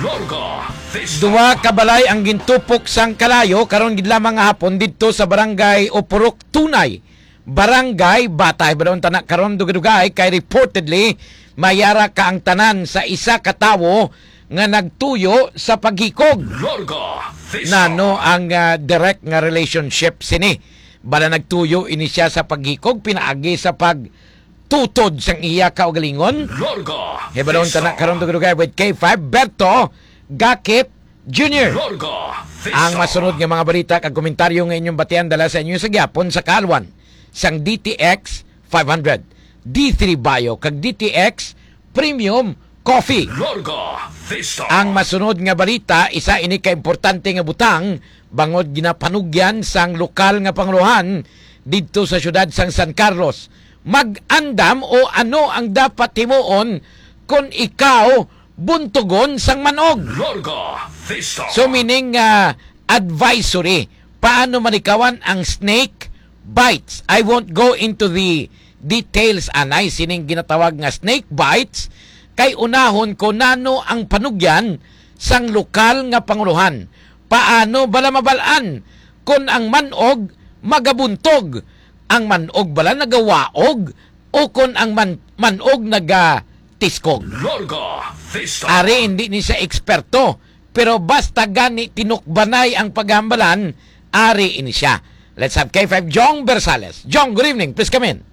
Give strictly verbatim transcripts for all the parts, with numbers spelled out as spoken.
Larga Vista. Duha ka balay ang gintupok sang kalayo karon gid lamang nga hapon didto sa barangay Opurok Tunay, Barangay Batay. Badaon tana karon dugay-dugay kay reportedly mayara ka ang tanan sa isa ka tawo nga nagtuyo sa paghikog. Larga Vista. Nano ang, ah, direct nga relationship sini? Bala nagtuyo ini siya sa paghikog pinaagi sa pagtutod sang iya kaugalingon? Larga Hibalon Vista. Tana karon dugay-dugay with K five Berto Gakip Junior. Larga Vista. Ang masunod nga mga balita kag komentaryo nga inyong batian dala sa inyo sa gyapon sa kalwan sang D T X five hundred, D three Bio, kag D T X Premium Coffee. Larga Vista. Ang masunod nga balita, isa ini ka importante nga butang bangod ginapanugyan sang lokal nga pangulohan didto sa siyudad sang San Carlos. Mag-andam o ano ang dapat himuon kon ikaw buntugon sang manog? Larga Vista. So, meaning, ah, advisory. Paano malikawan ang snake bites? I won't go into the details, anay, sining ginatawag nga snake bites, kay unahon ko nano ang panugyan sang lokal nga pangulohan. Paano bala mabal-an kon ang manog magabuntog, ang manog bala nagawaog, o kon ang man-, manog nagatiskog? Larga Vista. Ari, hindi ni siya eksperto, pero basta gani tinukbanay ang paghambalan, ari ini siya. Let's have K five Jong Bersales. Jong, good evening. Please come in.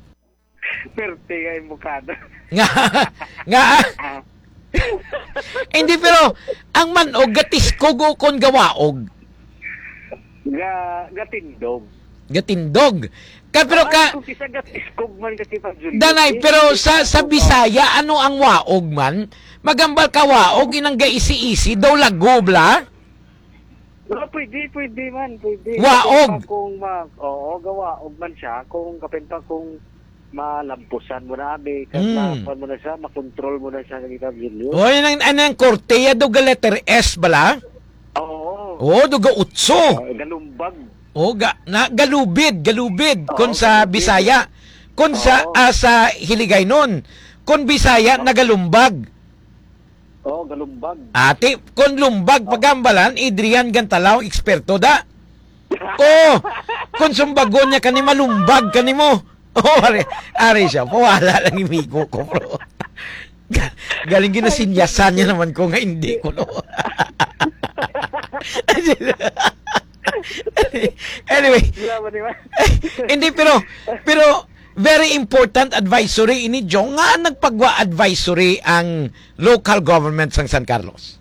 Perte nga imo kada. Nga, nga. Ah. Hindi, pero ang manog gatiskog o kon gawaog? Ga-, gatindog. Gatindog. Ka, pero ka, kung isa gatiskog man kasi pag Danay, pero sa, sa Bisaya, ano ang waog man? Magambal ka waog, inang gaisi-isi, daw lagob la? Ah, pwede, pwede man, pwede. Waog. Kapin pa kung ma-, oo, gawaog man siya, kung kapin pa kung malampusan mo na, abi, kag Mm. makuan mo na siya, makontrol mo na siya, Kagitang Julio. Oy, nang, anang korte, ya, do ga letter S bala? Oo. Oo, do ga utso. Ah, galumbag. O, ga-, na, galubid, galubid, Oo, kun sa galubid. Bisaya. Kun sa, Oo. Ah, sa Hiligaynon. Kun Bisaya, Oo. Nagalumbag. Oo, galumbag. Ate, kung lumbag, Oo. Pagambalan, Adrian Gantalaw, eksperto da. Oh, kung sumbagon niya kani, malumbag kani mo. Oh, ari, ari siya. Pawala lang yung migo ko, bro. Ga-, galing ginasinyasan niya naman ko nga hindi ko, no? Anyway. Wala ba, di ba? Hindi, pero, pero, very important advisory ini, Jong, nga nagpagwa advisory ang local government sang San Carlos.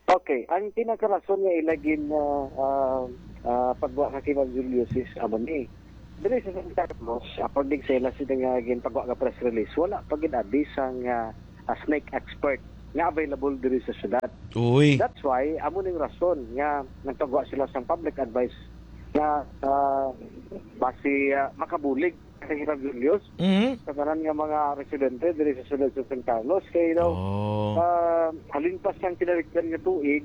Okay, ang pinakarason nga ila gin, ah, ah, ah, pagwa ka kay Ma'am Julius is amo ni. Diri sa San Carlos, according sa ila sila nga ginpagwa nga press release, wala pa gid abi sang, ah, ah, snake expert nga available diri sa syudad. Uy. That's why amo ning rason nga nagpagwa sila sang public advice nga, ah, basi, ah, makabulig kay Hirab Julius Mhm. sa tanan nga mga residente diri sa syudad sa San Carlos. Kay, you know, Oh. ah, halin pa sang kinalikdan nga tuig,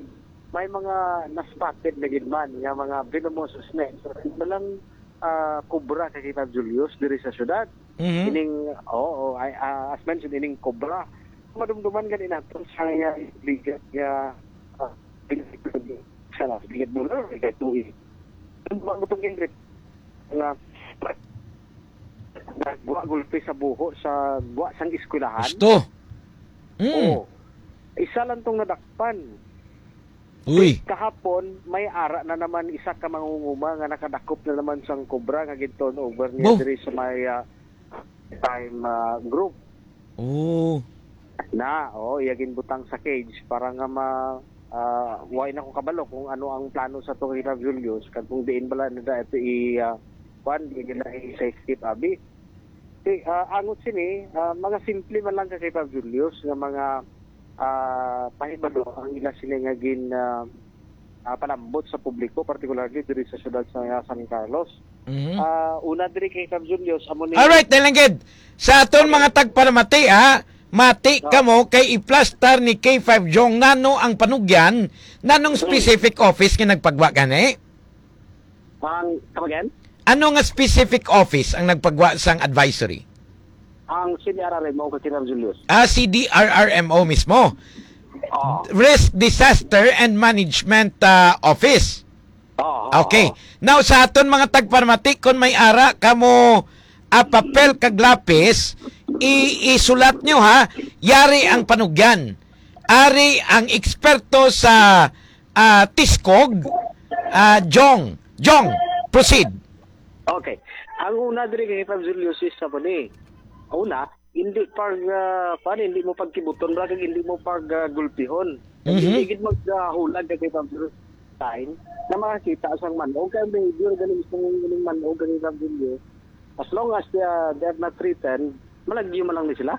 may mga na-spotted na gid man nga mga venomous snakes. Walang, ah, kobra kay Hirab Julius diri sa syudad. Mhm. Ining, oo, ay, ah, as mentioned, ining kobra. Madumduman gani nato sa iya bigat nga, ah, sa bigat mo na, bigat tuig. Ang mga gutong inrit nga nagwa gulpi sa buho sa gwa sang eskwelahan. Gusto. Mm. Oo. Isa lang tong nadakpan. Uy. Kahapon, may ara na naman isa ka mangunguma nga nakadakop na naman sang kobra nga gin-turn over niya Bo. diri sa may, ah, time, ah, group. Oh. Na, oh, iya ginbutang sa cage para nga ma-, ah, way na ko kabalo kung ano ang plano sa to kay Rav Julius, kag kung diin bala na da ito i, ah, kuan, diin nila i-safekeep, abi. Si, ah, angot sini, ah, mga simple man lang ka kay Rav Julius nga mga, ah, pahibalo ang ila sini nga gin, ah, ah, palambot sa publiko, particularly diri sa siyudad sa San Carlos. Mhm. Ah, una diri kay Rav Julius, amo ni Alright, dahil lang gid. Sa aton Okay. mga tagpalamati, ha? Mati No. kamo kay iplastar ni K five Jong nano ang panugyan, nanong Mm. specific office nga nagpagwa gani? Ang, come again? Ano nga specific office ang nagpagwa sang advisory? Ang C D R R M O ka Rav Julius. Ah, C D R R M O mismo. Oo. Risk Disaster and Management, ah, Office. Oo, oo, Okay. oo. Now, sa aton mga tagpamati, kung may ara kamo, ah, papel kag lapis, i-, isulat nyo, ha. Yari ang panugyan. Ari ang eksperto sa, ah, Tiskog, ah, Jong. Jong, proceed. Okay. Ang una diri kay Fab Julius is sa ni. Una, hindi pag, ah, kuwan, hindi mo pagkibuton, bra, kag hindi mo pag, ah, gulpihon. Kag Mhm. hindi gid mag, ah, hulag kay Fab Julius time na makakita sang manog. Kay ang behavior gani mismo ng, ng manog kay Fab Julius, as long as, ah, they are not threatened, malagyo man lang ni sila.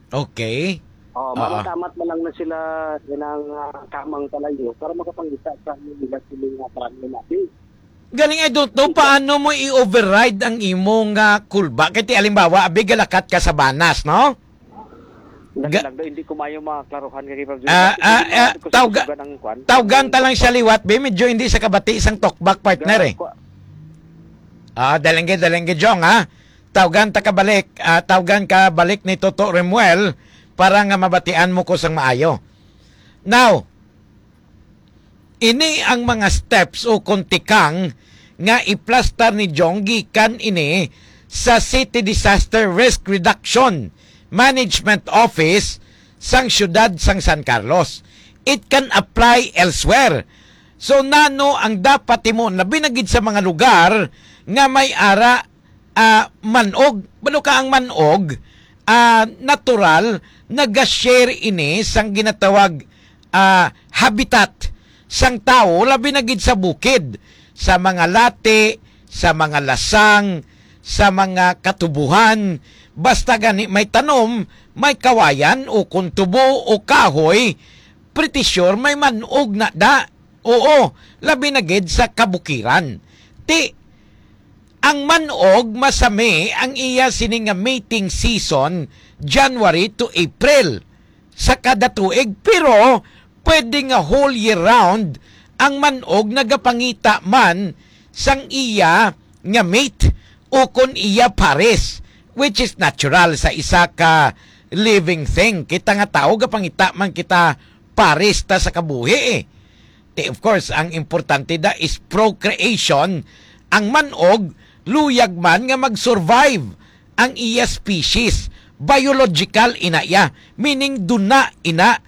Okay. Oh, Oo. mamatamat man lang na sila inang, ah, kamang kalayo para makapangita sa nila sila nga parang nabi. Galing, I don't know paano mo i-override ang imong, ah, kulba. Kay ti, halimbawa, abi, galakat ka sa Banas, no? Dali Ga- lang daw, hindi ko maayo maklaruhan kay Fab Jun. Ah, Hindi ah, ko ah, maayo ko tawga-, susugan ang kwan. Tawgan ta lang siya liwat, be. Medyo hindi sa kabati isang talkback partner, Ga-, eh. kwa- Ah, dalengge, dalengge, Jong, ha? Tawgan ta kabalik, ah, tawgan ka balik ni Toto Remuel para nga mabatian mo ko sang maayo. Now, ini ang mga steps o kon tikang nga iplastar ni Jong gikan ini sa City Disaster Risk Reduction Management Office sang siyudad sang San Carlos. It can apply elsewhere. So, nano ang dapat timo, labi na gid sa mga lugar nga may ara, ah, manog? Balo ka ang manog, ah, natural, naga-share ini sang ginatawag, ah, habitat sang tawo, labi na gid sa bukid, sa mga lati, sa mga lasang, sa mga katubuhan. Basta gani may tanom, may kawayan, o kon tubo o kahoy, pretty sure may manog na da. Oo, labi na gid sa kabukiran. Ti, ang manog, masami ang iya sini nga mating season, January to April sa kada tuig, pero pwede nga whole year round ang manog nagapangita man sang iya nga mate o kon iya pares, which is natural sa isa ka living thing. Kita nga tawo, gapangita man kita pares ta sa kabuhi, eh. Ti, of course, ang importante da is procreation. Ang manog, luyag man nga mag-survive ang iya species. Biological ina iya, meaning duna ina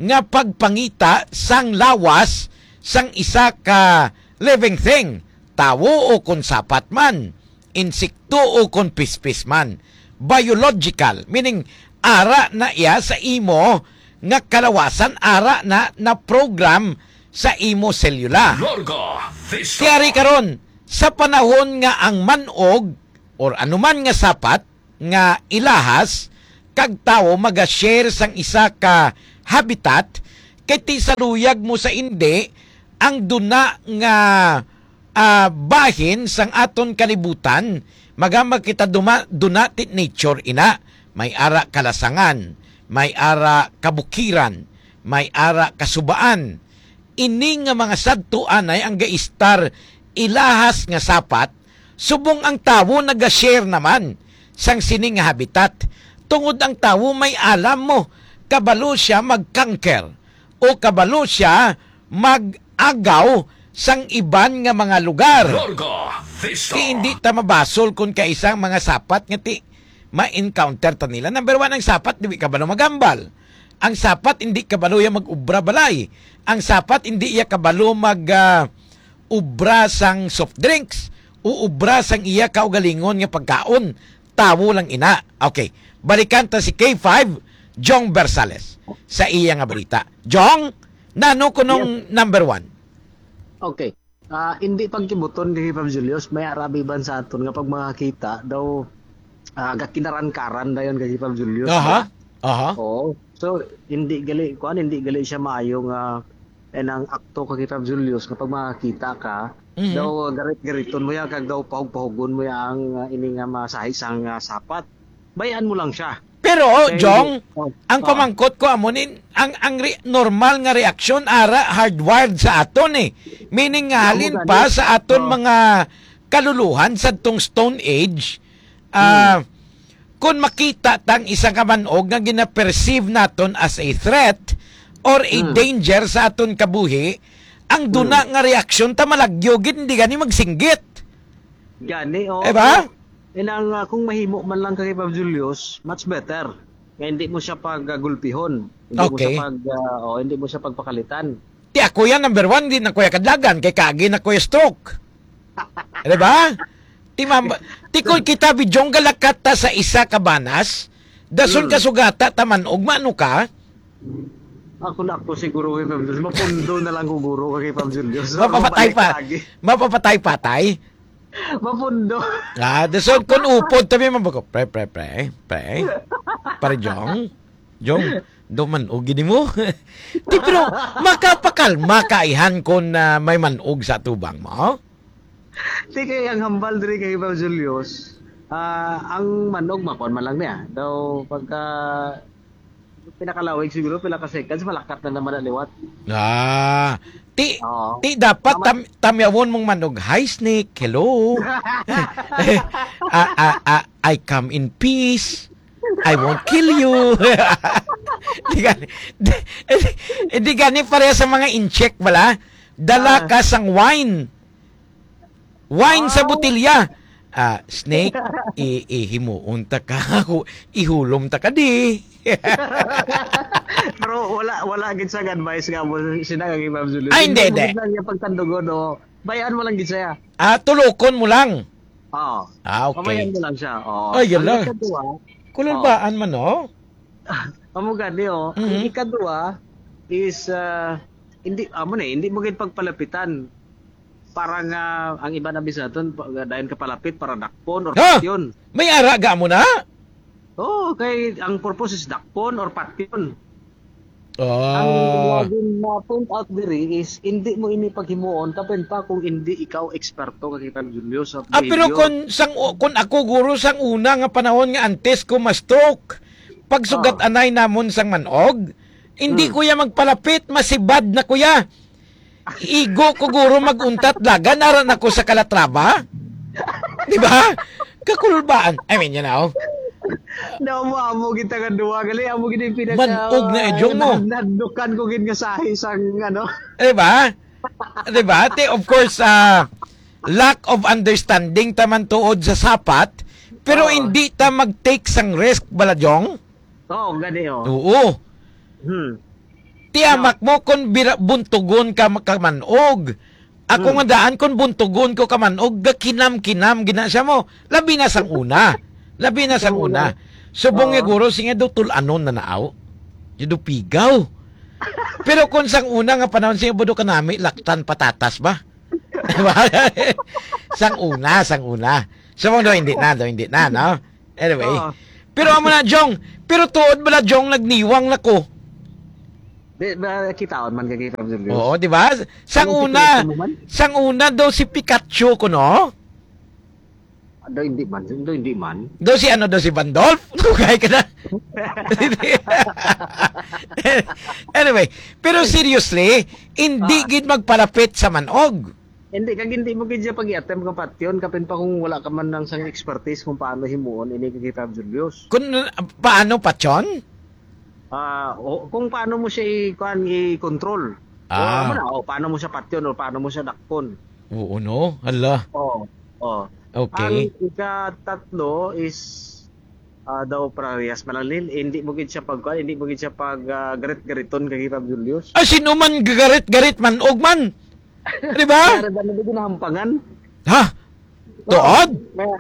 nga pagpangita sang lawas sang isa ka living thing, tawo o kon sapat man, insekto o kon pispis man. Biological, meaning ara na iya sa imo nga kalawasan, ara na na program sa imo selula. Larga Vista. Ti ari karon, sa panahon nga ang manog or anuman nga sapat nga ilahas kag tawo maga-share sang isa ka habitat, kay ti sa luyag mo sa indi, ang duna nga, ah, bahin sang aton kalibutan, magamag kita duma-, duna ti nature ina. May ara kalasangan, may ara kabukiran, may ara kasubaan. Ini nga mga sadto anay ang gaistar ilahas nga sapat, subong ang tawo naga-share naman sang sini nga habitat, tungod ang tawo may alam mo, kabalo siya mag-conquer o kabalo siya mag-agaw sang iban nga mga lugar. Larga Vista. Ti hindi ta mabasol kon kaisa ang mga sapat nga ti ma-encounter ta nila. Number one, ang sapat, di kabalo magambal. Ang sapat, hindi kabalo iya mag-ubra balay. Ang sapat, hindi iya kabalo mag, ah, ubra sang soft drinks o ubra sang iya kaugalingon nga pagkaon. Tawo lang ina. Okay. Balikan ta si K five, Jong Bersales, sa iya nga balita. Jong, nano kunong Yes. number one? Okay. Ah, hindi pagkibuton kay Pab Julius, may arabi ban sa aton nga pag makakita daw, ah, gakinaran-karan dayon kay Pab Julius, Aha. no? Aha. Oo. So, hindi gali, kuan, hindi gali siya maayo nga, eh, nang akto ka kay Pab Julius nga pag makakita ka, Mhm. daw garit-gariton mo yan, kag daw pahug-pahugon mo yan ang, ah, ini nga masahi sang, ah, sapat. Bayan mo lang siya. Pero, Okay, Jong, oh, ang oh. pamangkot ko amo ni, ang, ang re-, normal nga reaksyon, ara, hardwired sa aton, eh. Meaning nga, Amo halin gani. pa sa aton Oh. mga kaluluhan sa tong Stone Age, ah, Hmm. kung makita tang isa ka manog nga gina-perceive naton as a threat, or a Hmm. danger sa aton kabuhi, ang Hmm. duna nga reaksyon ta malagyo gid, hindi gani magsinggit. Gani, oh. Eh, ba? Inang, ah, kung mahimo man lang kay Pab Julius, much better. Nga hindi mo siya pagagulpihon. Hindi mo siya Okay. pag, ah, oh, hindi mo siya pagpakalitan. Ti ako yan, number one, di na ko ya kadlagan, kay kaagi na ko ya stroke. Di ba? Ti ma'am, ti kung kita, Bijong, galakat ta sa isa ka banas, dason Hmm. kasugata ta man og maano ka? Ako na ako siguro kay Pam Julius. Mapundo na lang ko guro kay Pam Julius. Mapapatay Mabalik pa. lagi. Mapapatay-patay. Mapundo. Ah, dason kung upod tabi man ko. Pre, pre, pre, pre. Pare Jong. Jong, do man-og gini mo. Ti, pero makapakalma ka, ihan, kung, ah, may man-og sa tubang mo? Ti kay ang hambal diri kay Pam Julius, ah, ang man-og makuan man lang niya. Daw pagka pinakalawig siguro, pila ka seconds, malakat na naman na liwat. Ah, ti, Oo. ti dapat Tama. tam-, tamyawon mong man-og, "Hi, snake. Hello." Ah, ah, ah, "I come in peace. I won't kill you." Di gani, di, di gani pareha sa mga incheck bala. Dala Ah. ka sang wine. Wine sa Ah. botilya. Ah, snake, i-, ihimuon ta ka. Ihulom ta ka di. Pero wala, wala gid sa advice nga mo, sina nga Ma'am Julie. Ay, hindi, Hindi mo hindi. gid lang yung pagtandugon, o bayaan mo lang gid siya. Ah, tulokon mo lang. Oo. Ah, okay. Pamayan mo lang siya. Oo. Ay, yala. Ang ikadua, Kululbaan man, no? Amo gani, oh. Mhm. Ang ikadua is, ah, hindi, amo na, eh, hindi mo gid pagpalapitan. Para nga ang iba na bisan aton, pa-, dayon ka palapit para dakpon or Ha? patyon. May ara ga mo na? Oo, kay ang purpose is dakpon or patyon. Ah. Ang laging na-point out diri is, hindi mo ini paghimuon, kapin pa kung hindi ikaw eksperto, Kakitang Julio, sa Ah, pero behavior. kung sang, kung ako, guro, sang una nga panahon nga antes ko ma-stroke, pagsugat Ah. anay namon sang manog, hindi Hmm. ko ya magpalapit, masibad na ko ya. Igo ko, guro, mag-untat lagan, ara na ko sa kalatraba. Di ba? Kakulbaan. I mean, you know. Naamo-amo kita nga duha. Gali, amo gid yung pinaka, Manog na, eh, Jong, mo. Nadlukan ko gid nga sahi sang, ano. Di ba? Di ba? Te, of course, ah, lack of understanding taman tuod sa sapat, pero Oo. hindi ta mag-take sang risk, bala, Jong? Oo, gani, oh. Oo. Hmm. Tiyamak No. mo kung bira-, buntugon ka makaman-og. Ako Hmm. nga daan, kung buntugon ko kaman-og, gakinam-kinam gina siya mo. Labi na sang una. Labi na sang Sang una. una. Subong Oo. nga guro, singa daw tul-anon na naaw. Di daw pigaw. Pero kung sang una nga panahon, singa budo kanami, laktan patatas ba? Sang una, sang una. Subong daw, hindi na, daw, hindi na, no? Anyway. Oo. Pero amo na, Jong. Pero tuod bala, Jong, nagniwang na ko. Di, ba, kitaon man ka kay Pablo Diyos? Oo, di ba? Sang Anong una, sikreto mo man? sang una daw si Pikachu ko, no? Ah, daw hindi man, daw hindi man. Daw si ano, daw si Bandolf? Dugay ka na. Anyway, pero seriously, hindi Ah. gid magpalapit sa manog. Hindi, kag hindi mo gid siya pag-i-attempt nga patyon, kapin pa kung wala ka man lang sang expertise kung paano himuon ini kay Pablo Diyos. Kung, paano patyon? Ah, o, kung paano mo siya i-, kuan, i-control. O, Ah. ano na, o, paano mo siya patyon o paano mo siya dakpon. Oo, no? Hala. Oo, oo. Okay. Ang ikatatlo is, ah, daw parehas man lang, Lil. Hindi mo gid siya pag, kuan, hindi mo gid siya pag, ah, garit-gariton kay Pab Julius. Ah, sino man gagarit-garit man, og man? Di ba? Kaya ba na ginahampangan? Ha? Tuod? Kaya,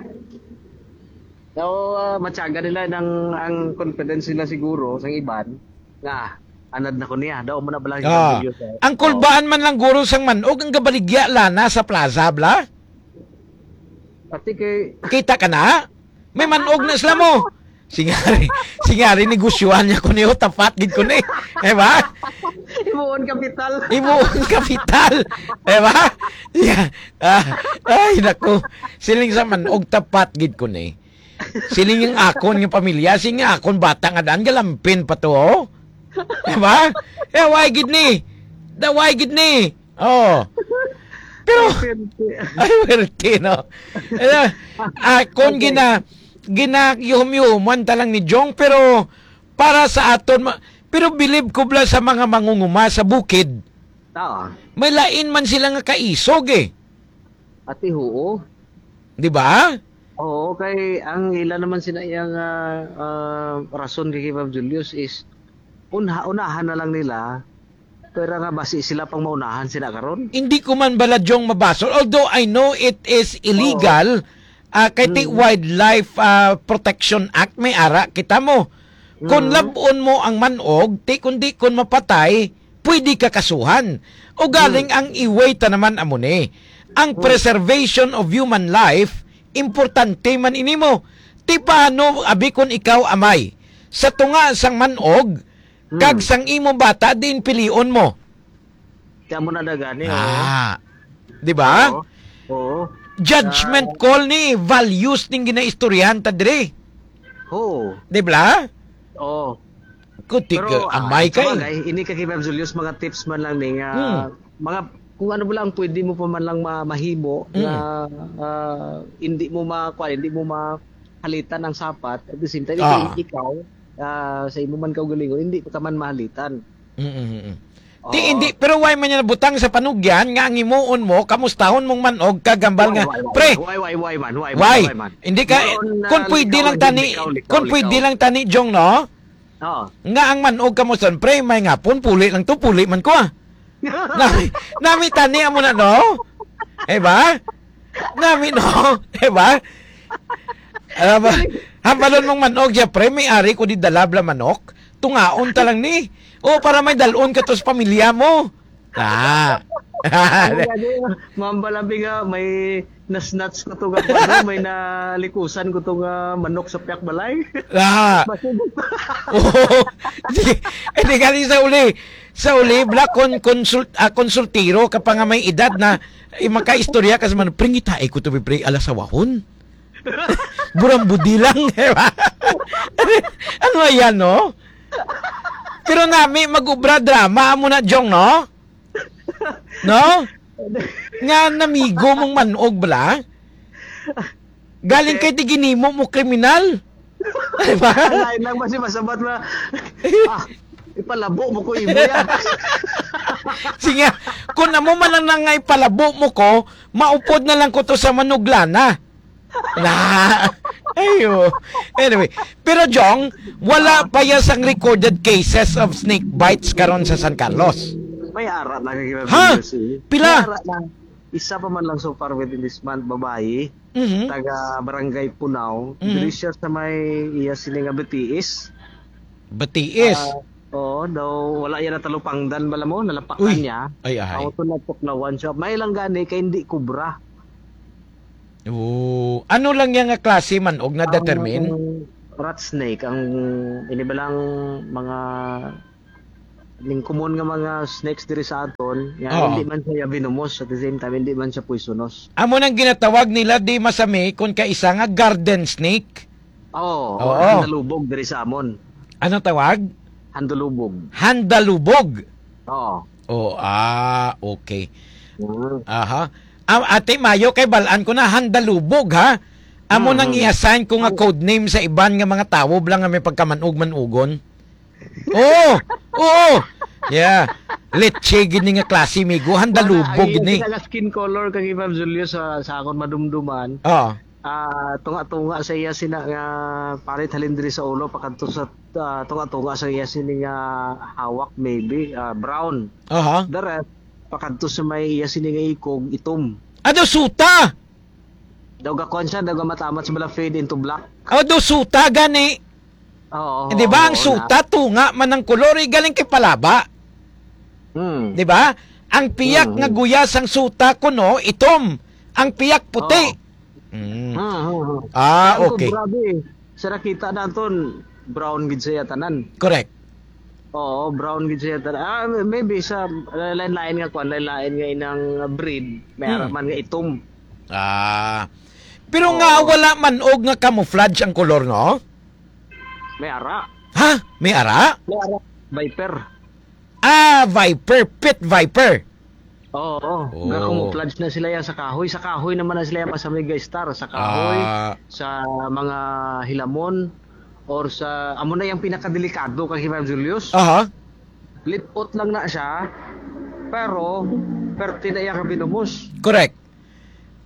so, ah, matyaga nila ng, ang confidence nila siguro sa iban nga anad na ko niya. Daw mo na bala Ah, ang kulbaan man lang guro sang manog ang gabaligya lana sa plaza, bla? Pati kay Kita ka na? May manog na sila mo. Singari, singari negosyohan niya ko niyo, tapat gid ko ni. Eh ba? Himuon kapital. Himuon kapital. Eh ba? Yeah. Ah, ay, naku. Siling sa manog, tapat gid ko ni. Siling yung akon nga pamilya, siling yung akon bata nga daan, galampin pa to, oh. Eh ba? Eh, why gid ni? Da, why gid ni? Oh. Pero, Ay, swerte. Ay, swerte, no? Eh, ah, kung Okay. gina-, gina-, yuhum-yuhuman ta lang ni Jong, pero para sa aton, ma-, Pero bilib ko bala sa mga mangunguma sa bukid, Ah, may lain man sila nga kaisog eh. Ati, oo. Di ba? Oo, kay ang ila naman sina iyang, ah, ah, rason kay Ma'am Julius is unha-, unahan na lang nila, pero nga basi sila pang maunahan sila karon. Hindi ko man bala, Jong, mabasol. Although I know it is illegal, ah, kay ti Mm. Wildlife, ah, Protection Act, may ara kita mo. Kung Mm. lab-on mo ang manog, ti kundi kung mapatay, pwede ka kasuhan. O galing Mm. ang iway ta naman amo ni. Ang Mm. preservation of human life, importante man ini mo. Ti paano, abi, kung ikaw amay, sa tunga sang manog, Mm. kag sang imo bata, diin pilion mo? Kaya mo na na gani, oh. Ah. Di ba? Oo. Oo. Judgment Ah. call ni, values ning ginaistoryahan ta diri. Oo. Di ba? Oo. Kutik, Pero, ah, amay sa kay. Bagay, ini ka kay Ma'am Julius, mga tips man lang ni nga, Hmm. mga, kung ano ba lang pwede mo pa man lang ma-, mahimo Hmm. nga, ah, hindi mo ma-, kuwan, hindi mo mahalitan ang sapat, at the same time, Ah. ikaw, ikaw, ah, sa imo man kaugalingon, hindi ka man mahalitan. Mm, mm, mm. Ti, Oo. Hindi, pero why man niya nabutang sa panugyan nga ang himuon mo, kamustahon mong manog, kagambal nga, Why, why, why, "Pre, why, why, why, man? Why, why, why, why, man?" Hindi ka, Meron na kung pwede likaw lang lang, tani, likaw, likaw, kung pwede likaw. Lang tani, Jong, no? Oo. Nga ang manog kamuston, "Pre, may ngapon, puli lang to, puli man ko, ah." Nami, nami tani amo na, no? Eh ba? Nami, no? Eh ba? Alam ba? Hambalon mong manog siya, "Pre, may ari ko di dala bala manok. Tungaon ta lang ni. O, para may dalon ka to sa pamilya mo." Ah. Ano nga di, Ma'am Balabi nga, may na-snatch ko to nga, ano, may nalikusan ko to nga manok sa piyak balay. Ah. Basig. Oo. Di, eh, di gali sa uli. Sa uli, bala, kon-, konsult-, ah, konsultiro ka pa nga may edad na, eh, makaistorya ka sa man, "Pre, ngitai ko to, pre, alasawahon." Burang budi lang, di ba? Ano yan, no? Pero nami, mag-ubra drama, amo na, Jong, no? No? Nga namigo mong manog bala? Galing kay ti ginimo mo kriminal. Di ba? Lain lang ba si masabat na, "Ah, ipalabo mo ko imo yan." Sige, kung amo man lang na nga ipalabo mo ko, maupod na lang ko to sa manuglana. Na. Ayo. Anyway, pero Jong, wala pa ya sang recorded cases of snake bites karon sa San Carlos. May ara na kay Ha? Pila? May ara na. Isa pa man lang so far within this month, babayi, Mhm. taga Barangay Punaw, Mhm. diri siya sa may iya sini nga B T S. B T S? Ah, oo, daw wala yan natalupangdan bala mo, nalapakan Uy, niya. Ay, ahay. Ang ito natuklawan siya. May lang gani kay hindi kubra. Oo. Ano lang yan nga klase man og na-determine? Ang rat snake, ang inibalang mga ning common nga mga snakes diri sa aton, nga Oo. hindi man siya venomous, at the same time, hindi man siya poisonous. Amo nang ginatawag nila di masami kon kaisa nga garden snake. Oo, Oo. Handalubog diri sa amon. Anong tawag? Handalubog. Handalubog. Oo. Oh, ah, okay. Mm. Aha. Ah, Ate Mayo, kay balaan ko na, handalubog, ha? Amo Mm, nang mm. i-assign ko nga Ang code name sa iban nga mga tawo lang nga may pagkamanog-manugon. Oo, oo. Yeah. Leche gid ni nga klase, migo. Handalubog Wala, gid ang ni. Skin color kang Ma'am Julius sa, sa akon madumduman. Oo. Ah, tunga-tunga sa iya sina nga parit halin diri sa ulo pakadto sa, ah, tunga-tunga sa iya sini nga hawak, maybe, ah, brown. Aha. The rest, pakadto sa may iya sini nga ikog, itom. Ano, suta? Daw gakuan siya, daw gamatamat sa bala fade into black. Oh, do suta gani. Oo, Eh, di ba, oo, ang oo, suta, na. Tunga man ang kolor, eh, galing kay palaba. Hmm. Di ba? Ang piyak Hmm, nga hmm. Guya sang suta kuno, itom. Ang piyak puti. Oo. Hmm. Hmm, hmm, hmm. Ah, Ang okay. Grabe, sa nakita naton, brown gid siya tanan. Correct. Oo, brown gid siya tanan. Ah, maybe sa lain-lain nga kwan, lain-lain nga inang breed, may Hmm. ara man nga itom. Ah. Pero nga Oo. Wala man og nga camouflage ang kolor, no? May ara. Ha? May ara? May ara. Viper. Ah, viper. Pit viper. Oo. Oh. Ga-camouflage na sila yan sa kahoy. Sa kahoy naman na sila yan masamig, guys, star. Sa kahoy, Ah. sa mga hilamon. or sa, amo na yung pinakadelikado kay Hiram Julius. Aha. Lipot lang na siya, pero perte na iya ka venomous. Correct.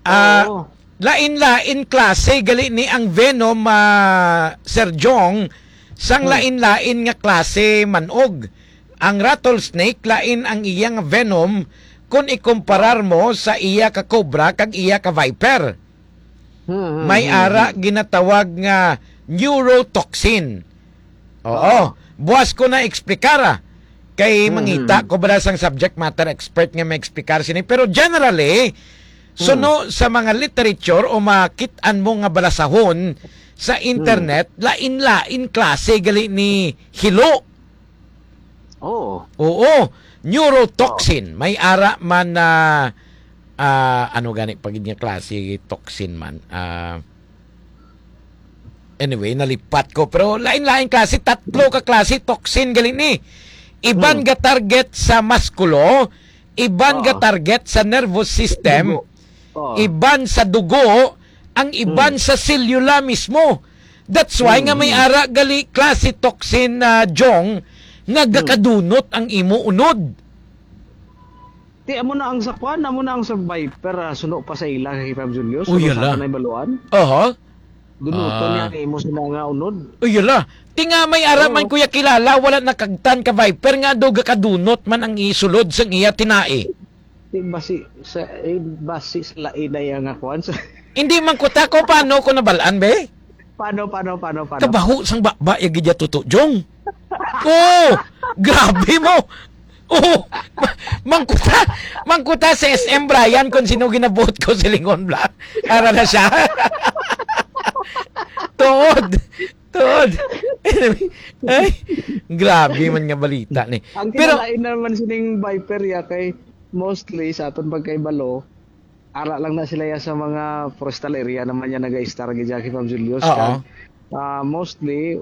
Ah, Oo. lain-lain klase gali ni ang venom, ah, Sir Jong, sang Hmm. lain-lain nga klase manog. Ang rattlesnake, lain ang iya nga venom kung ikumparar mo sa iya ka cobra kag iya ka viper. Hmm, hmm, May hmm, ara hmm. ginatawag nga neurotoxin. Oo. Oo. Buwas ko na eksplikara. Kay Hmm, mangita hmm. ko ba sang subject matter expert nga may explicar sini. Pero generally, Hmm. suno sa mga literature o makit-an mo nga balasahon sa Hmm. internet, lain-lain klase gali ni hilo. Oo. Oo. Neurotoxin. May ara man na, ah, ano gani pa gid nga klase toxin man? Ah, anyway, nalipat ko. Pero lain-lain klase, tatlo ka klase toxin gali ni. Iban Hmm. ga target sa maskulo, iban ga Oo. target sa nervous system, Dugo. Oo. iban sa dugo, ang iban Hmm. sa selula mismo. That's why Hmm, nga may hmm. ara gali klase toxin na, Jong, nga Hmm. gakadunot ang imo unod. Ti, amo na ang sa kwan, amo na ang sa Viper, ah, suno pa sa ila kay Fab Julius, Uy, suno sa ala. aton na ibaluan. Aha. Dunuton Ah. niya ang imo sa mga unod. Uy, ala. Ti nga may ara man, Oo. kuya, kilala, wala nakagtan ka Viper nga daw gakadunot man ang isulod sang iya tinai. Ti basi sa, eh, basi sa lain na iya nga kwan sa Hindi man kuta ko paano ko nabalaan, be? Paano, paano, paano, paano? Kabaho sang baba ya gid ya tuto, Jong. Oh, grabe mo. Oh, ma-, mangkuta, mangkuta sa S M Brian kung sino ginabuot ko sa Lingon Black. Ara na siya. Tuod. Tuod. Ay, grabe man nga balita ni. Ang Pero kinalain naman sining Viper ya kay mostly sa aton pagkaibalo, ara lang na sila ya sa mga forestal area naman ya naga-star gid ya kay Ma'am Julius. Oo. Kag, ah, mostly,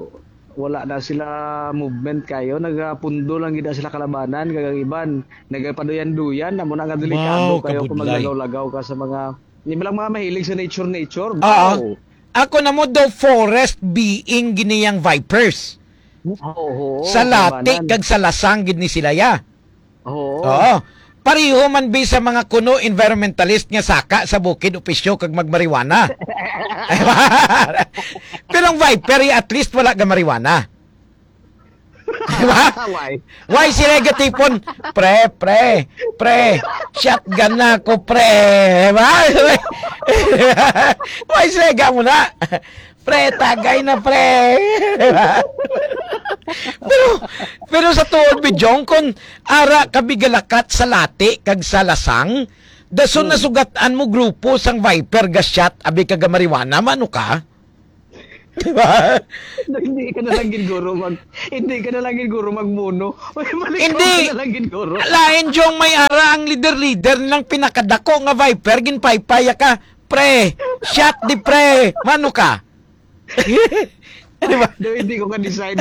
wala na sila movement kayo. Nagapundo lang gid na sila kalabanan. Kag ang iban, nagapaduyan-duyan. Amo na nga delikado Wow, kayo kung kabudlay. maglagaw-lagaw ka sa mga, di ba lang mga mahilig sa nature-nature? Oo. Wow. Ako na mo daw forest being gini yang vipers. Oo, Sa Lati kalabanan. kag sa Lasang gid ni sila ya. Oo. Oo. Pareho man bi sa mga kuno environmentalist nga saka sa bukid o pisyo kag magmarijuana. Pero ang Viper, at least wala ga marijuana. Di ba? Why? Why sila gatipon? Pre, pre, pre, shotgun na ako, pre. Di ba? Why sila ga mo na? Pre, tagay na, pre. Pero, pero sa tuod, Bijong, kung ara ka bigalakat sa Lati kag sa Lasang, dason Hmm. nasugat-an mo grupo sang Viper ga shot, abi ka ga marijuana, mano ka? Di ba? Hindi ka na lang gid, guro, mag-, hindi ka na lang gid, guro, magmuno. Uy, balik Hindi. ka na lang gid, guro. Lain, Jong, may ara ang leader-leader ng pinakadako nga Viper, ginpaypaya ka. Pre, shot di pre. Mano ka? Di ba? No, hindi ko ka-decide.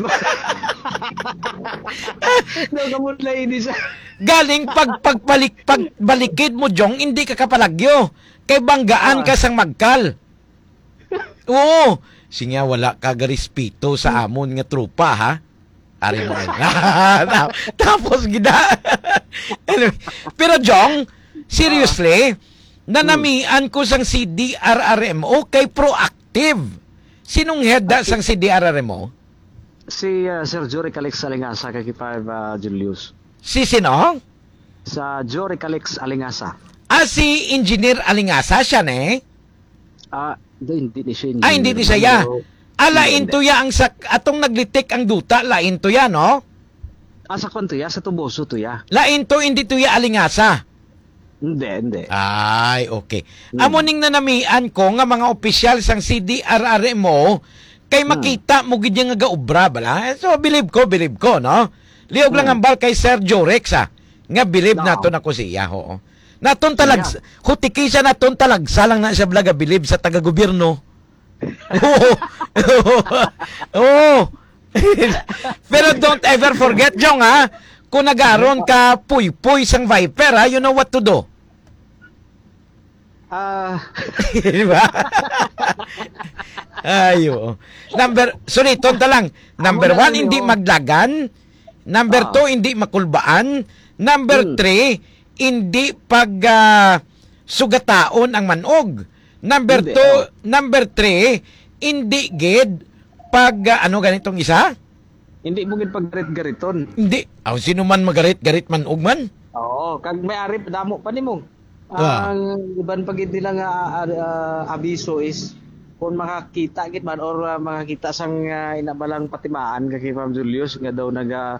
No, ka mo na i-decide. Galing pag, pagbalik, pagbalikid mo, Jong, hindi ka kapalagyo. Kay banggaan Ah. ka sang magkal. Oo. Sinya, wala ka garespeto sa amon nga tropa, ha? Ari mo. Ta-, tapos gida. Anyway, pero, Jong, seriously, Ah. nanamian ko sang C D R R M O kay proactive. Sinong head da Ati- sang C D R R M O? Si, ah, Sir Jory Calix Alingasa, kay Five, ah, Julius. Si sino? Sa Jory Calix Alingasa. Ah, si Engineer Alingasa siya, ne? Ah, do, hindi ni siya Ah, hindi ni engineer siya, ya. man, do. Ah, lain Hindi, to ya ang sa, atong naglitik ang duta, lain to ya, no? Ah, sa kwan to ya, sa Tuboso to ya. Lain to, hindi to ya Alingasa. Hindi, hindi. Ay, okay. Hmm. Amo ning nanamian ko nga mga opisyal sang C D R R M O, kay Hmm. makita mo gid nga gaobra bala. So, believe ko, believe ko, no? Liog lang Hmm. hambal kay Sir Jorex, ah, nga believe Oo. naton ako siya, oo. Naton talag-, Siya. hutiki siya, naton talagsa lang na siya bala gabilib sa taga-gobyerno. Oo. Oo. Pero don't ever forget, Jong, ha? Kung nagaron ka puy-puy sang Viper, ha, you know what to do. Ah. Di ba? Ay, oo. Number, sorry, tonta lang. Number Amo na one, rin, hindi oo. maglagan. Number Ah. two, hindi makulbaan. Number Hmm. three, hindi pag, ah, sugataon ang manog. Number Hindi, two, oh. number three, hindi gid pag, ah, ano ganitong isa? Hindi mo gid paggarit-gariton. Hindi. Aw, sino man magarit-garit manog man? Oo, kag may ari damo pa nimo. Ah. Ang iban pa gid nila nga, ah, ah, abiso is kung makakita gid man or, ah, makakita sang, ah, ina ba lang patimaan ka kay Ma'am Julius nga daw naga,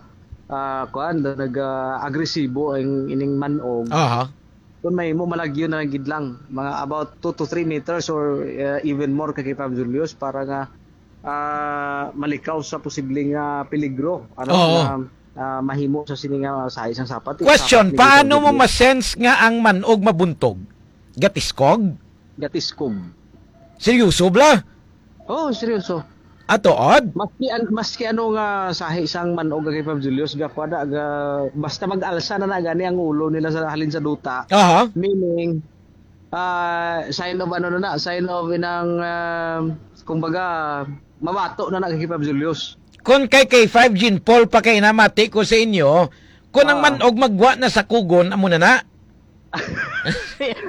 ah, kuan, daw naga agresibo ang ining manog. Aha. Kung may mo malagyo na gid lang, mga about two to three meters or, ah, even more ka kay Ma'am Julius para nga ah, malikaw sa posibleng, ah, peligro, ano, Oo. na, ah, mahimo sa sini nga sahi sang sapat. Question, Sapat ni paano Gustavo mo Gutierrez. masense nga ang manog mabuntog? Gatiskog? Gatiskog. Seryoso, bla? Oh, seryoso. Ato, odd? Maski an-, maski ano nga sahi sang manog kay Fab Julius, ga, kuwan na, ga, basta mag-alsa na na gani ang ulo nila sa halin sa duta. Aha. Meaning, ah, sign of ano na na, sign of inang, ah, kumbaga, mabato na na kay Fab Julius. Kung kay K five Jean Paul pa kay namati ko sa inyo, kung ang Oo. manog magwa na sa kugon, amo na na.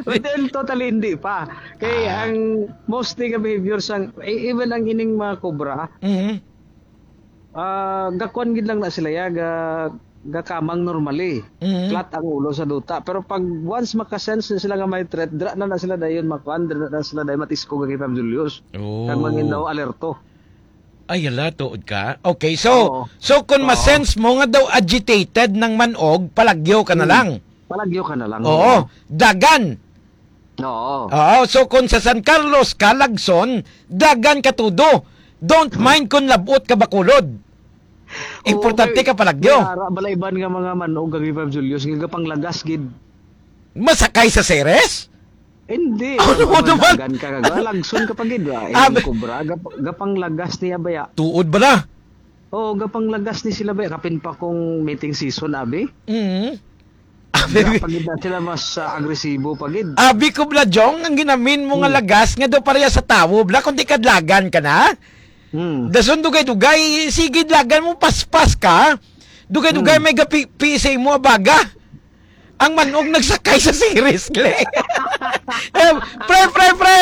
Well, totally hindi pa. Kay Ah. ang mostly nga behavior sang, e-, even ang ining mga cobra, Mhm. ah, gakuan gid lang na sila ya, ga-, gakamang normally. Mhm. Flat ang ulo sa duta. Pero pag once makasense na sila nga may threat, dira na na sila dayon makuan, dira na sila dayon matiskog kay Fab Julius. Oh. Kag mangin daw alerto. Ay, ala, tuod ka? Okay, so, Oo. so kung Oo. masense mo nga daw agitated ng manog, palagyo ka na Hmm. lang. Palagyo ka na lang, Oo. oo. Dagan. Oo. Oo, so kung sa San Carlos ka, Lagson, dagan ka tudo. Don't mind kung labot ka bakulod. Importante Oo, may, ka palagyo. may ara bala iban nga mga manog kag Fab Julius nga gapanglagas gid. Masakay sa seres? Hindi. Ano mo naman? Dagan ka, ga-, lagson ka pa gid, ah. Abi- Ang kobra, gap-, gapanglagas niya baya. Tuod bala? Oo, gapanglagas ni sila baya. Kapin pa kung mating season, abi. Mhm. Abi- Ga-, pa gid na sila mas, ah, agresibo pa gid. Abi ko bala, Jong, ang ginamin mo nga Hmm. lagas nga daw pareha sa tawo, bala, kung di kadlagan ka na. Hmm. Dason dugay-dugay, sige, lagan mo, paspas ka. Dugay-dugay Hmm. may gapi-, P S A mo, abaga. Ang manog nagsakay sa seres, Glenn. Eh, pre, pre, pre!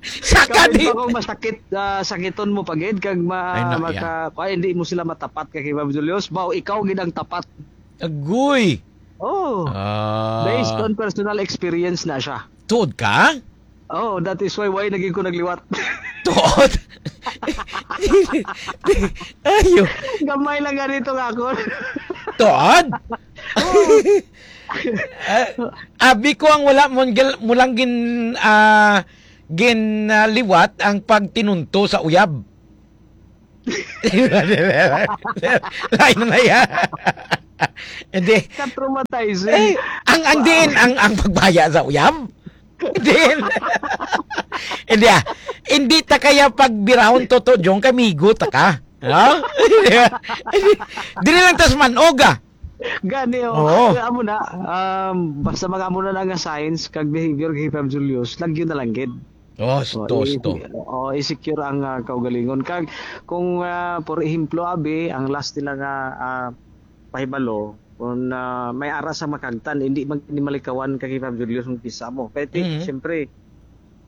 Saka Kapin di pa kung masakit, ah, sakiton mo pa gid, kag ma-, Ay, na, maka-, yeah. Ay, hindi mo sila matapat kay Ma'am Julius. Bao, ikaw gid ang tapat. Agoy! Oh. Ah. Based on personal experience na siya. Tuod ka? Oh, that is why, why naging ko nagliwat. Tuod? Ayo. Gamay lang ganito nga ako. Tuod? Oo. Ah, abi ko ang wala mo gil-, mo lang gin-, ah, gin-, ah, liwat ang pagtinunto sa uyab. Lain na yan. Hindi. Ka-traumatizing. Eh, ang, ang diin, ang, ang pagbaya sa uyab? Diin. Hindi, ah. Hindi ta kaya pagbirahon, Toto Jong, kamigo ta ka. No? Dili lang tas manog, ah. Gani, oh. Oo. Kaya amo na, um, basta mga amo na lang nga signs kag behavior kay Fam Julius, lagyo na lang gid. Oh, sto, Oh, i-, sto. Oh, i-secure ang, ah, kaugalingon. Kag kung, ah, por ehemplo, abi, ang last nila nga, ah, pahibalo, kung, ah, may ara sa makagtan, hindi mag-, hindi malikawan kay Fam Julius kung kisa mo. Kaya ti-, Mhm. siyempre,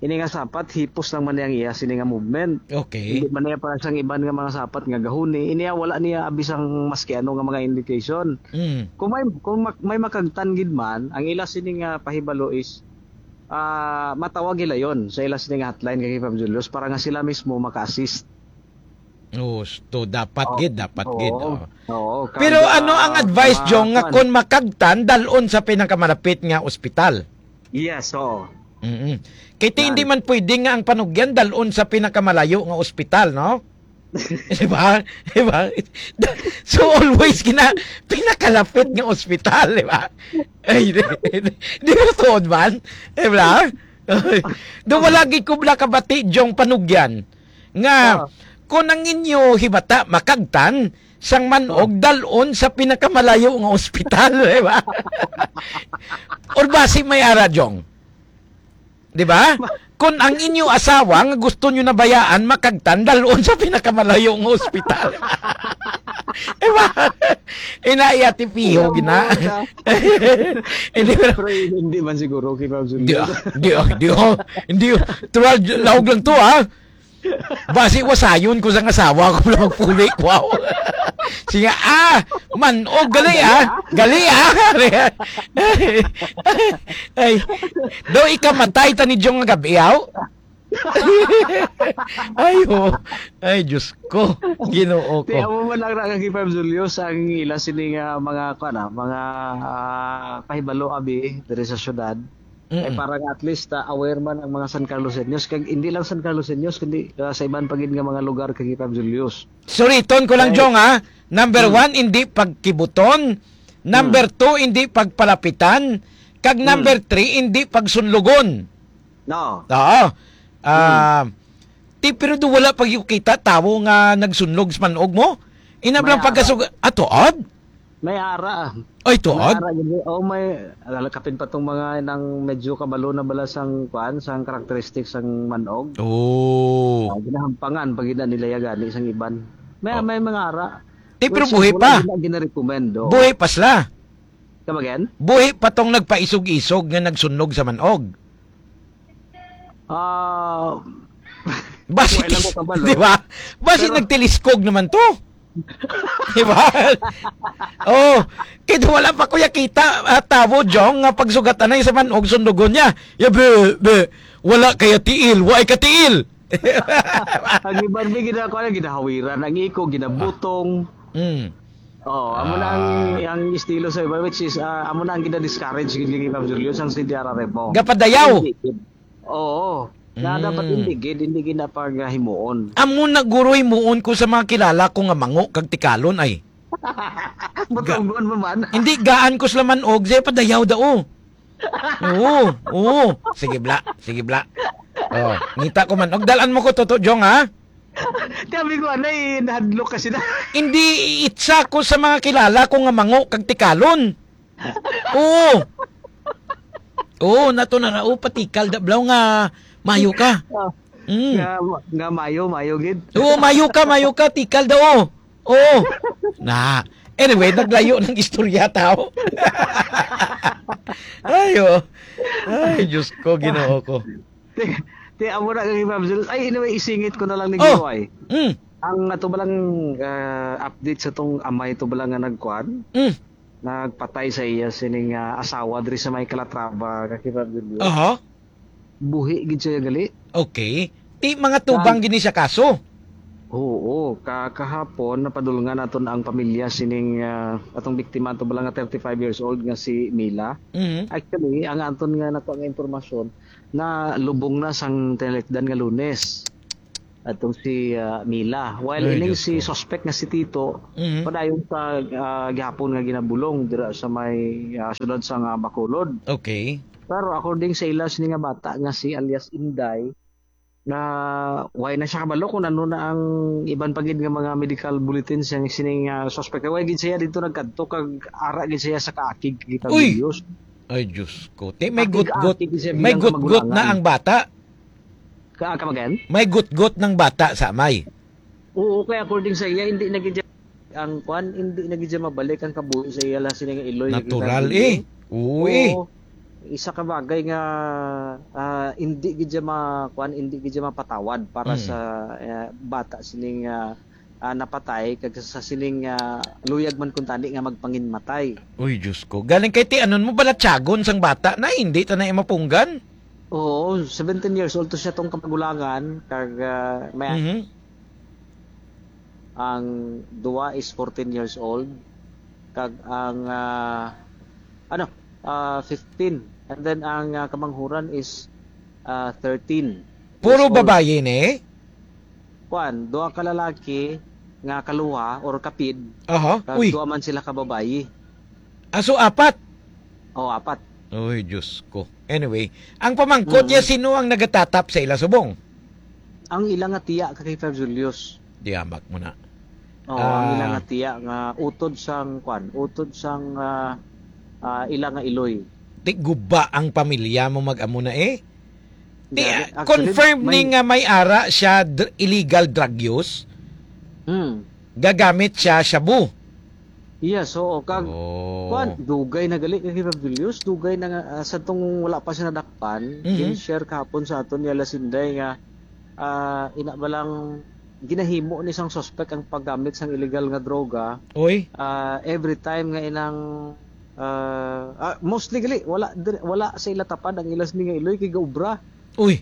ini nga sapat, hipos lang man niya ang iya sini nga movement. Okay. Hindi man niya para sang iban nga mga sapat nga gahuni. Ini wala niya abi sang maski ano nga mga indication. Mm. Kung may, kung mak-, may makagtan gid man, ang ila sini nga pahibalo is, ah, matawag hilayon sa ila sini nga hotline kay Fam Julius para nga sila mismo maka-assist. Oh, sto, dapat Oh, gid, dapat oo. gid, oh. Oo, kag, Pero ano ang ah, advice, mga Jong, nga kuwan. Kung makagtan, dalon sa pinakamalapit nga ospital? Yes, oo. Mm-mm. Kay ti-, Yan. hindi man pwede nga ang panugyan dalon sa pinakamalayo nga ospital, no? Di ba? Di ba? So, always gina-, pinakalapit nga ospital, di ba? Ay, di, di, di ba tuod man? Di ba? Do wala gid ko bala kabati, Jong, panugyan nga Ah. kung ang inyo hibata makagtan, sang manog, dalon sa pinakamalayo nga ospital, di ba? Or basi may ara, Jong? Di ba? Ma- Kung ang inyo asawa nga gusto nyo nabayaan, makagtan, dalon sa pinakamalayo nga ospital. Di ba? Ina, iya, tipiho, gina. Hindi, pero Pero hindi man siguro kay Ma'am Julia. Di, ah, di, ah, di, ah, hindi, ah. Tuwal, lahog lang to, ah. Basi wasayon ko sang asawa ko na magpuli, wow. Sige, ah, man-og, gali, ah. Gali, ah. Ay, daw ikamatay ta ni Jong nga gabi, aw? Ay, oh. Ay, Diyos ko. Ginoo Ti, ko. Amo man lang na kay Fam Julius ang ila sini nga mga, kuwan, ah, mga, ah, pahibalo, abi, diri sa syudad. Ay, mm, para nga at least, ah, aware man ang mga San Carloseños. Kag hindi lang San Carloseños, kundi, ah, sa iban pa gid nga mga lugar kay Fam Julius. Suriton ko lang, ay, Jong, ha? Number, hmm, one, hindi pagkibuton. Number, hmm, two, hindi pagpalapitan. Kag, hmm, number three, hindi pagsunlogon. No. Oo. Hmm. Ah, ti, pero do wala pa gyud kita tawo nga nagsunlog sa man-og mo? Inam lang. May ara. Pagkasug-, ah, tuod? May ara. Ay, tuod? May ara, hindi. Oh, may, ala, kapin pa tong mga nang medyo kabalo na bala sang, kwan, sang characteristics sang man-og. Oh. Ah, ginahampangan pag ina nila ya gani sang iban. May, oh, may mga ara. Ti, pero which is buhi wala pa. Gina-, gina-recommend, oh. Buhi pa sila. Come again? Buhi pa tong nagpaisog-isog nga nagsunlog sa man-og. Ah, basi, wala ko kabalo. Di ba? Basi pero nagtiliskog naman to. Di ba? Oh, kaya wala pa ko yakita, ah, tawo, Jong, nga pagsugat anay sa man-og sundugon niya. Ya, be, be, wala kaya tiil, wa ay katiil. Ang iban, may gina-, kuwan, ginahawiran. Ang iko, ginabutong. Mm. Oh, amo na ang, ah, ang estilo sa iba, which is, ah, amo na ang gina-discourage gid ni Ma'am Julius, ang C D R R F O. Gapadayaw. Hindi gid. Oo. Na dapat, mm, hindi gid, hindi gid na paghimuon. Amo na guro himuon ko sa mga kilala ko nga mango kag tikalon ay. Butongon mo man. Hindi, gaan ko sila man-og, say padayaw daw. Oo, oo. Sige, bla. Sige, bla. Oh, ngita ko man. Og dalan mo ko, Toto Jong, ha? Sabi ko, anay, nahadlok ka sila. Hindi, itsa ko sa mga kilala ko nga mango kag tikalon. Oo. Oo, nato na ra. Oh, patikal da, blaw nga mayo ka. Oh. Mm. Nga, nga mayo, mayo gid. Oo, mayo ka, mayo ka, tikal daw. Oo. Na. Anyway, naglayo ng istorya, tao. Ayo. Ay, Diyos ko, Ginoo ko. Ti, ti, amo na kay Ma'am Jules. Ay, anyway, isingit ko na lang ni, oh, Ginoo, ay. Mm. Ang ato ba lang, ah, update sa tong amay to ba lang nga nagkuan? Mm. Nagpatay sa iya sining, ah, asawa diri sa may Calatrava, kay Ma'am Jules. Aha. Buhi gid siya gali. Okay. Ti, mga tubang gid ni siya kaso? Oo, ka-, kahapon napadulngan naton ang pamilya sining, ah, atong biktima, ato bala nga thirty-five years old nga si Mila. Mhm. Actually, ang aton nga nakuha nga impormasyon, nalubong na sang tinalikdan nga Lunes. Atong si, ah, Mila. While ining si suspect nga si Tito, mhm, padayon sa, ah, gihapon nga ginabulong dira sa may, ah, siyudad sa nga Bacolod. Okay. Pero according sa ila sini nga bata nga si alias Inday, na way na siya kabalo kung ano na ang iban pa gid nga mga medical bulletin sa sining, ah, suspect. Way gid siya dito nagkadto kag ara gid siya sa kaakig kita. Uy! Videos. Ay, Diyos ko. Ti, may gutgot, akig-akig siya may bilang gutgot na kamag-ulangan. Ang bata. Ka-, come again? May gutgot ng bata sa amay. Oo, kaya according sa iya, hindi na gid ang kwan, hindi na gid siya mabalik ang kabuhi sa iya lang sini nga iloy nga natural, kita, eh. Oo, eh. Oo. Isa ka bagay nga, ah, hindi gid siya ma-, kwan, hindi gid siya mapatawad para, mm, sa, eh, bata sining, ah, ah, napatay kag sa sining, ah, luyag man kuntani nga magpanginmatay. Uy, Diyos ko. Galing kay ti, anon mo balatyagon sang bata na, hindi ta na mapunggan? Oo, seventeen years old to siya tong kamagulangan, kag, ah, may, mhm, ang duwa is fourteen years old, kag ang, ah, ano, ah, fifteen. And then ang, ah, kamanghuran is, ah, thirteen years old. Puro babayi ni? Kuan, duha ka lalaki nga kaluha or kapid, aha, kag uy, duha man sila ka babayi. Ah, so apat? Oh, apat. Uy, Diyos ko. Anyway, ang pamangkot niya, mm, sino ang nagatatap sa ila subong? Ang ila nga tiya ka kay Fab Julius. Diamak mo na. Oh, ang ila, ah, nga tiya nga utod sang, kwan, utod sang, ah, ah, ila nga iloy. Ti guba ang pamilya mo mag-amo na, eh. Ti, Gani, ah, actually, confirmed ni may nga may ara siya dr-, illegal drug use? Hmm. Gagamit siya shabu? Yes, oo. Kag, Oh. kuwan, dugay na gali kay Rev Julius, dugay na nga, ah, sa tong wala pa siya nadakpan, Mhm. gin-share kahapon sa aton ni Alas Inday nga, ah, ina ba lang ginahimo ni sang suspect ang paggamit sang illegal nga droga. Oy. Ah, every time nga inang, ah, ah, mostly gali, wala dir-, wala sa ila tapad ang ila sini nga iloy kay gaubra. Uy.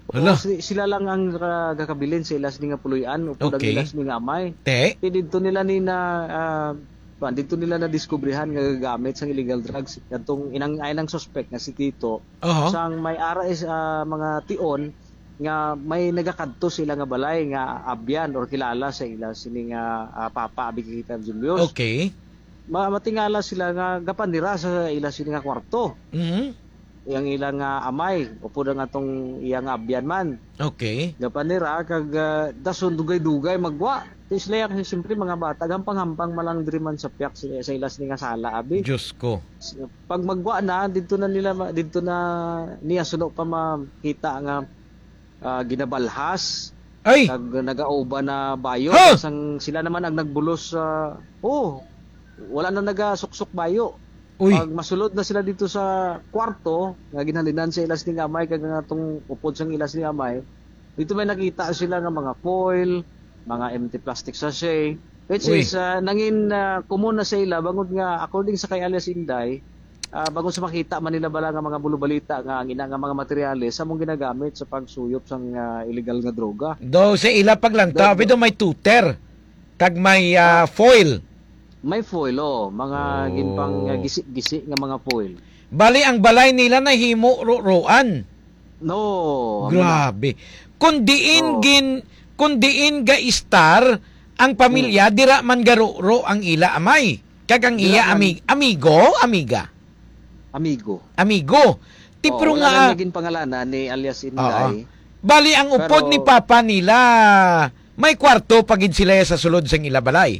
Hala. Oo, si-, sila lang ang, ah, gakabilin sa ila sini nga puloy-an, upod ang Okay. ila sini nga amay. Te? Ti didto nila ni na, ah, kuwan, didto nila nadiskubrihan nga gagamit sang illegal drugs. Kadtong inang, ay nang suspect nga si Tito, Aha. sang may ara is, ah, mga tion nga may nagakadto sa ila nga balay nga abyan or kilala sa ila sini nga, ah, papa, abi kay Rev Julius. Okay. Ma-, matingala sila nga gapanira sa ila sini nga kwarto. Mhm. Yang ila nga amay, upod ang atong iya nga abyan man. Okay. Gapanira kag, ah, dason dugay-dugay magwa. Ti sila yang siyempre mga bata, gampang-hampang man lang diri man sa piyak sa, sa ila sini nga sala, abi. Diyos ko. Pag magwa na, didto na nila ma-, didto na niya suno pa makita nga, ah, ginabalhas. Ay! Kag nagauban na bayo. Ha? Sang sila naman ang nagbulos sa, oh, wala na nagasuksok bayo. Uy. Pag masulod na sila dito sa kwarto, nga ginhalinan sa ila sini nga amay, kag nga tong upod sang ila sini nga amay, dito may nakita sila nga mga foil, mga empty plastic sachet, which Uy. is, ah, nangin, ah, common na sa ila, bangod nga, according sa kay alias Inday, ah, bangod sa makita man nila bala nga mga bulubalita nga ang ina nga mga materyales among ginagamit sa pagsuyop sang, ah, illegal nga droga. Daw sa ila paglantaw, Daw, daw. Daw may tuter, kag may, ah, Ah. foil. May foil, oh. Mga Oh. ginpang, ah, gisi-gisi nga mga foil. Bali, ang balay nila nahimo ro-roan. No, amo na. Grabe. Kung diin Oo. gin-, kung diin ga-istar ang pamilya, Hmm. dira man garuro ang ila amay. Kag ang Dira iya man. ami-, amigo, amiga? Amigo. Amigo. Ti, Oo, pero wala nga, na niya ginpangalanan ni alias Inday. Oo. Bali, ang upod Pero ni papa nila, may kwarto pa gid sila sa sulod sang ila balay?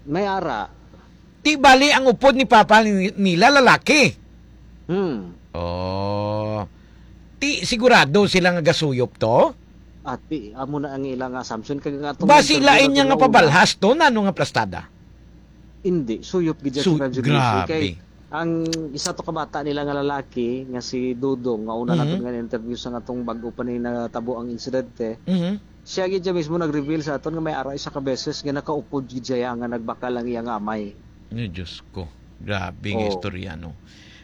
May ara. Ti bali ang upod ni papa ni-, nila lalaki. Hmm. Oh. Ti sigurado sila nga gasuyop to? Ati, amo na ang ilang assumption. Kag nga atong Basi interview lain na niya nga tinuod na. Pabalhas to, nano nga plastada? Hindi, suyop gid siya, Su-, Sir Julius. Grabe. Kay ang isa to ka bata nila nga lalaki, nga si Dudong, nga una Mhm. naton nga interview sa nga tong bag-o pa ni natabo ang insidente, Mhm. siya gid siya mismo nag-reveal sa aton nga may ara isa ka beses nga nakaupod gid siya nga nagbakal ang iya nga amay. Ay, Diyos ko. Grabe nga Oo. istorya, no?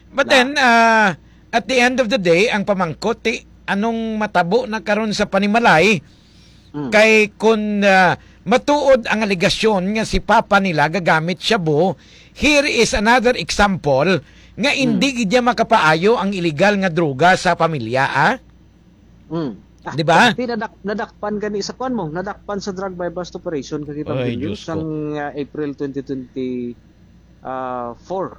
But Na. then, ah, at the end of the day, ang pamangkot, ti, anong matabo na karon sa panimalay? Mm. Kay kun, ah, matuod ang alegasyon nga si papa nila gagamit shabu, here is another example nga Mm. indi gid niya makapaayo ang illegal nga droga sa pamilya, ah? Mm. Ah, Di ba? Ti nadak-, nadakpan gani sa kuwan mo, nadakpan sa drug buy-bust operation ka kita Ay, Diyos ko. sang, ah, April twenty twenty, ah, four.